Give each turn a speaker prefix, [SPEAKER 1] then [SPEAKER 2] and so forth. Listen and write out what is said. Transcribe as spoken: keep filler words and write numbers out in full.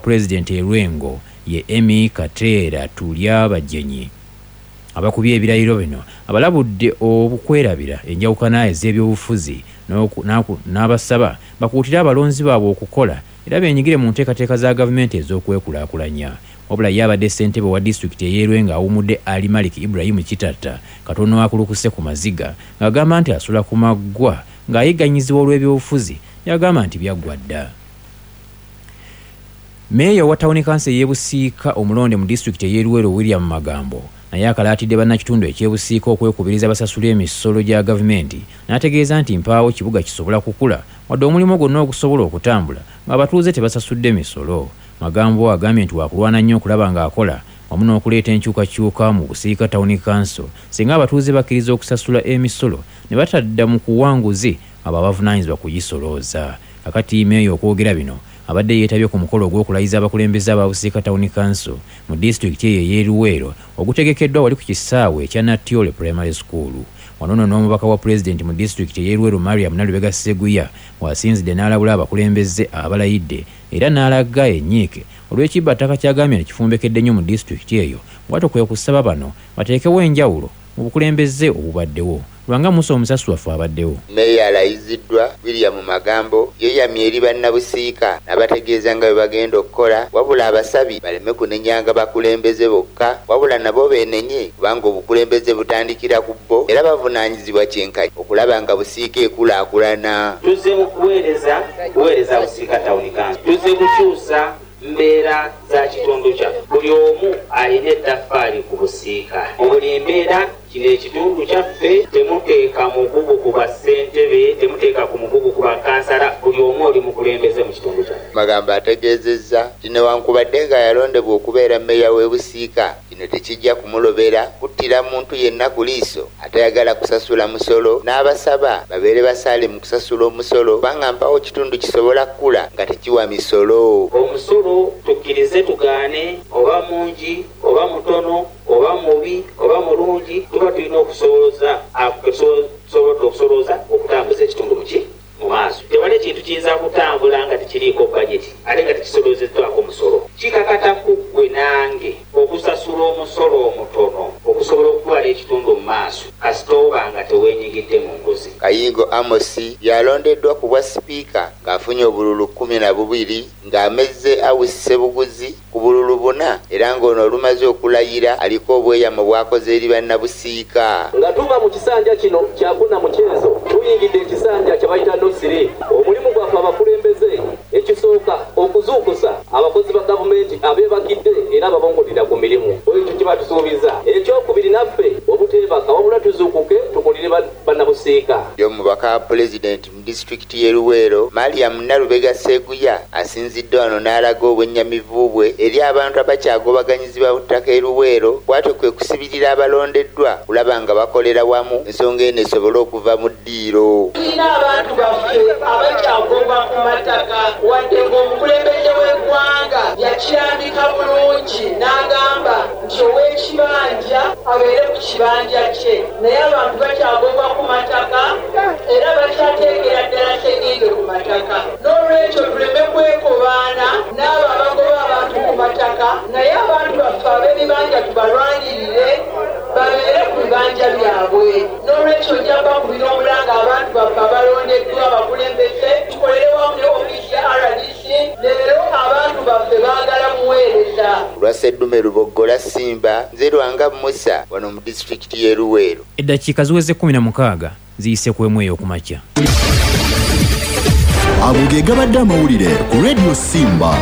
[SPEAKER 1] Pulezidenti e Lwengo ye Emmy Kateera Tulya Bajenyi. Abakubye ebirayiro bino abalabudde obukwerabira enjawukana ez'ebyobufuzi n'abasaba bakuutire abalonzi baabwe okukola era beenyigire mu nteekateeka za gavumenti ez'okwekulaakulanya. Wabula ye abadde ssentebe wa disitulikiti ey'e Lwengo awummudde Ali Malik Ibrahim Kitatta katono akulukuse ku maziga ng'agamba nti asula ku maggwa ng'ayigganyizibwa olw'ebyobufuzi, yagamba nti byaggwa dda. Meeya wa tawuni kanso ey'e Busiika omulonde mu disitulikiti ey'e Luweero, William Magambo, naye akalaatidde bannakitundu eky'e Busiika okwekubiriza basasule emisolo gya gavumenti, n'ategeeza nti mpaawo kibuga kisobola kukula wadde omulimu gwonna ogusobola okutambula ng'abatuuze tebasasudde misolo. Magambo agambye nti wakulwana nnyo okulaba ng'akola wamu n'okuleeta enkyukakyuka mu Busiika tawuni kanso singa abatuuze bakkiriza okusasula emisolo ne batadda mu kuwanguzi abo abavunaanyizibwa kugisolooza. Kakati meeya okwogera bino abadde yeetabye ku mukolo ogw'okulayiza abakulembeze aba Busiika tawuni kanso mu disitulikiti eyo ey'e Luweero ogutegekeddwa wali ku kisaawe ekya Natyole Primary School. Wano nno n'omubaka wa pulezidenti mu disitulikiti ey'e Luweero, Mariam Nalubega Sseguya, w'asinzidde n'alabula abakulembeze abalayidde era n'alaga ennyiike olw'ekibbattaka ky'agambye nti kifumbekedde nnyo mu disitulikiti eyo, bw'atyo kwe kusaba bano bateekewo enjawulo mu bukulembeze obubaddewo. Lwanga Musa omusasi waffe abaddewo.
[SPEAKER 2] Meeya alayiziddwa William Magambo yeeyamye eri bannabusiika n'abategeeza nga bwe bagenda okukola, wabula abasabi baleme kunenyanga bakulembeze bokka wabula nabo beenenye kubanga obukulembeze butandikira ku bo era bavunaanyizibwa kyenkanyi okulaba nga Busiika ekulaakulana.
[SPEAKER 3] Tuzze mu kuweereza kuweereza Busiika tawuni kanso, tuzze kukyusa mbeera za kitundu kyaffe. Buli omu alina ettaffaali ku Busiika mu buli mbeera. Kino ekitundu kyaffe, temuteeka mugugu ku bassentebe, temuteeka ku mugugu ku bakansala. Buli omu oli mukulembeze mu kitundu kyaffe.
[SPEAKER 2] Magambo ategeezezza nti newankubadde nga yalondebwa okubeera mmeeya w'e Busiika, kino tekijja kumulobera kuttira muntu yenna ku liiso atayagala kusasula musolo, n'abasaba babeere basaale mu kusasula omusolo kubanga mpawo kitundu kisobola kukula nga tekiwa misolo.
[SPEAKER 3] Omusolo tukkirize tugaane, oba mungi oba mutono oba mubi oba mulungi, tuba tulina okusolooza tusobodde okusolooza okutambuza ekitundu muki mu maaso. Tewali ekintu kiyinza kutambula nga tekiriiko bajeti ate nga tekisoloozeddwako musolo. Kikakata ku ggwe nange okusasula omusolo omutono okusobola okutwala ekitundu mu maaso, kasita oba nga teweenyigidde mu nguzi.
[SPEAKER 2] Kayingo Amosi yalondeddwa ku bwa sipiika ng'afunye obululu kkumi na bubiri ng'amezze Awusi Ssebuguzi ku bululu buna, era ng'ono olumaze okulayira aliko obweyamo bw'akoze eri bannabusiika.
[SPEAKER 4] Nga tuva mu kisanja kino kyakuna mu kyezo, tuyingidde ekisanja kye bayita nosiri. Omulimu gwaffe abakulembeze ekisooka okuzuukusa abakozi ba gavumenti abeebakidde era ababongolera ku mirimu, ekyo kye batusuubiza. Ekyokubiri, naffe obuteebaka wabula tuzuukuke tukolere bannabusiika.
[SPEAKER 2] Ye omubaka wa pulezidenti mu disitulikiti y'e Luweero, Mariam Nalubega Sseguya, asinzidde wano n'alaga obwennyamivu bwe eri abantu abakyagobaganyizibwa ku ttaka e Luweero, bw'atyo kwe kusibirira abalondeddwa kulaba nga bakolera wamu ensonga eno esobole okuva mu ddiiro.
[SPEAKER 5] Tulina abantu baffe abakyagobwa ku mataka wadde ng'omukulembeze w'eggwanga yakirambika bulungi n'agamba nti ow'ekibanja abeere ku kibanja kye, naye abantu bakyagobwa ku mataka era bakyateekera ddala sengenge ku mataka. N'olwekyo tuleme kwekobaana n'abo abagoba abantu ku mataka, naye abantu baffe ab'ebibanja tubalwanirire babeere ku bibanja byabwe. N'olwekyo nja bakubira omulanga abantu baffe abalondeddwa abakulembeze tukolere wamu ne ofiisi ya R D C. Leero abantu baffe baagala muweereza.
[SPEAKER 2] Olwa Sseddume Luboggola Simba, nze Lwanga Musa wano mu disitulikiti y'e Luweero.
[SPEAKER 1] Eddakiika ziweze kkumi na mukaaga ziyise ku emu ey'okumakya.
[SPEAKER 6] Ago ge gabadde amawulire ku Radio Simba.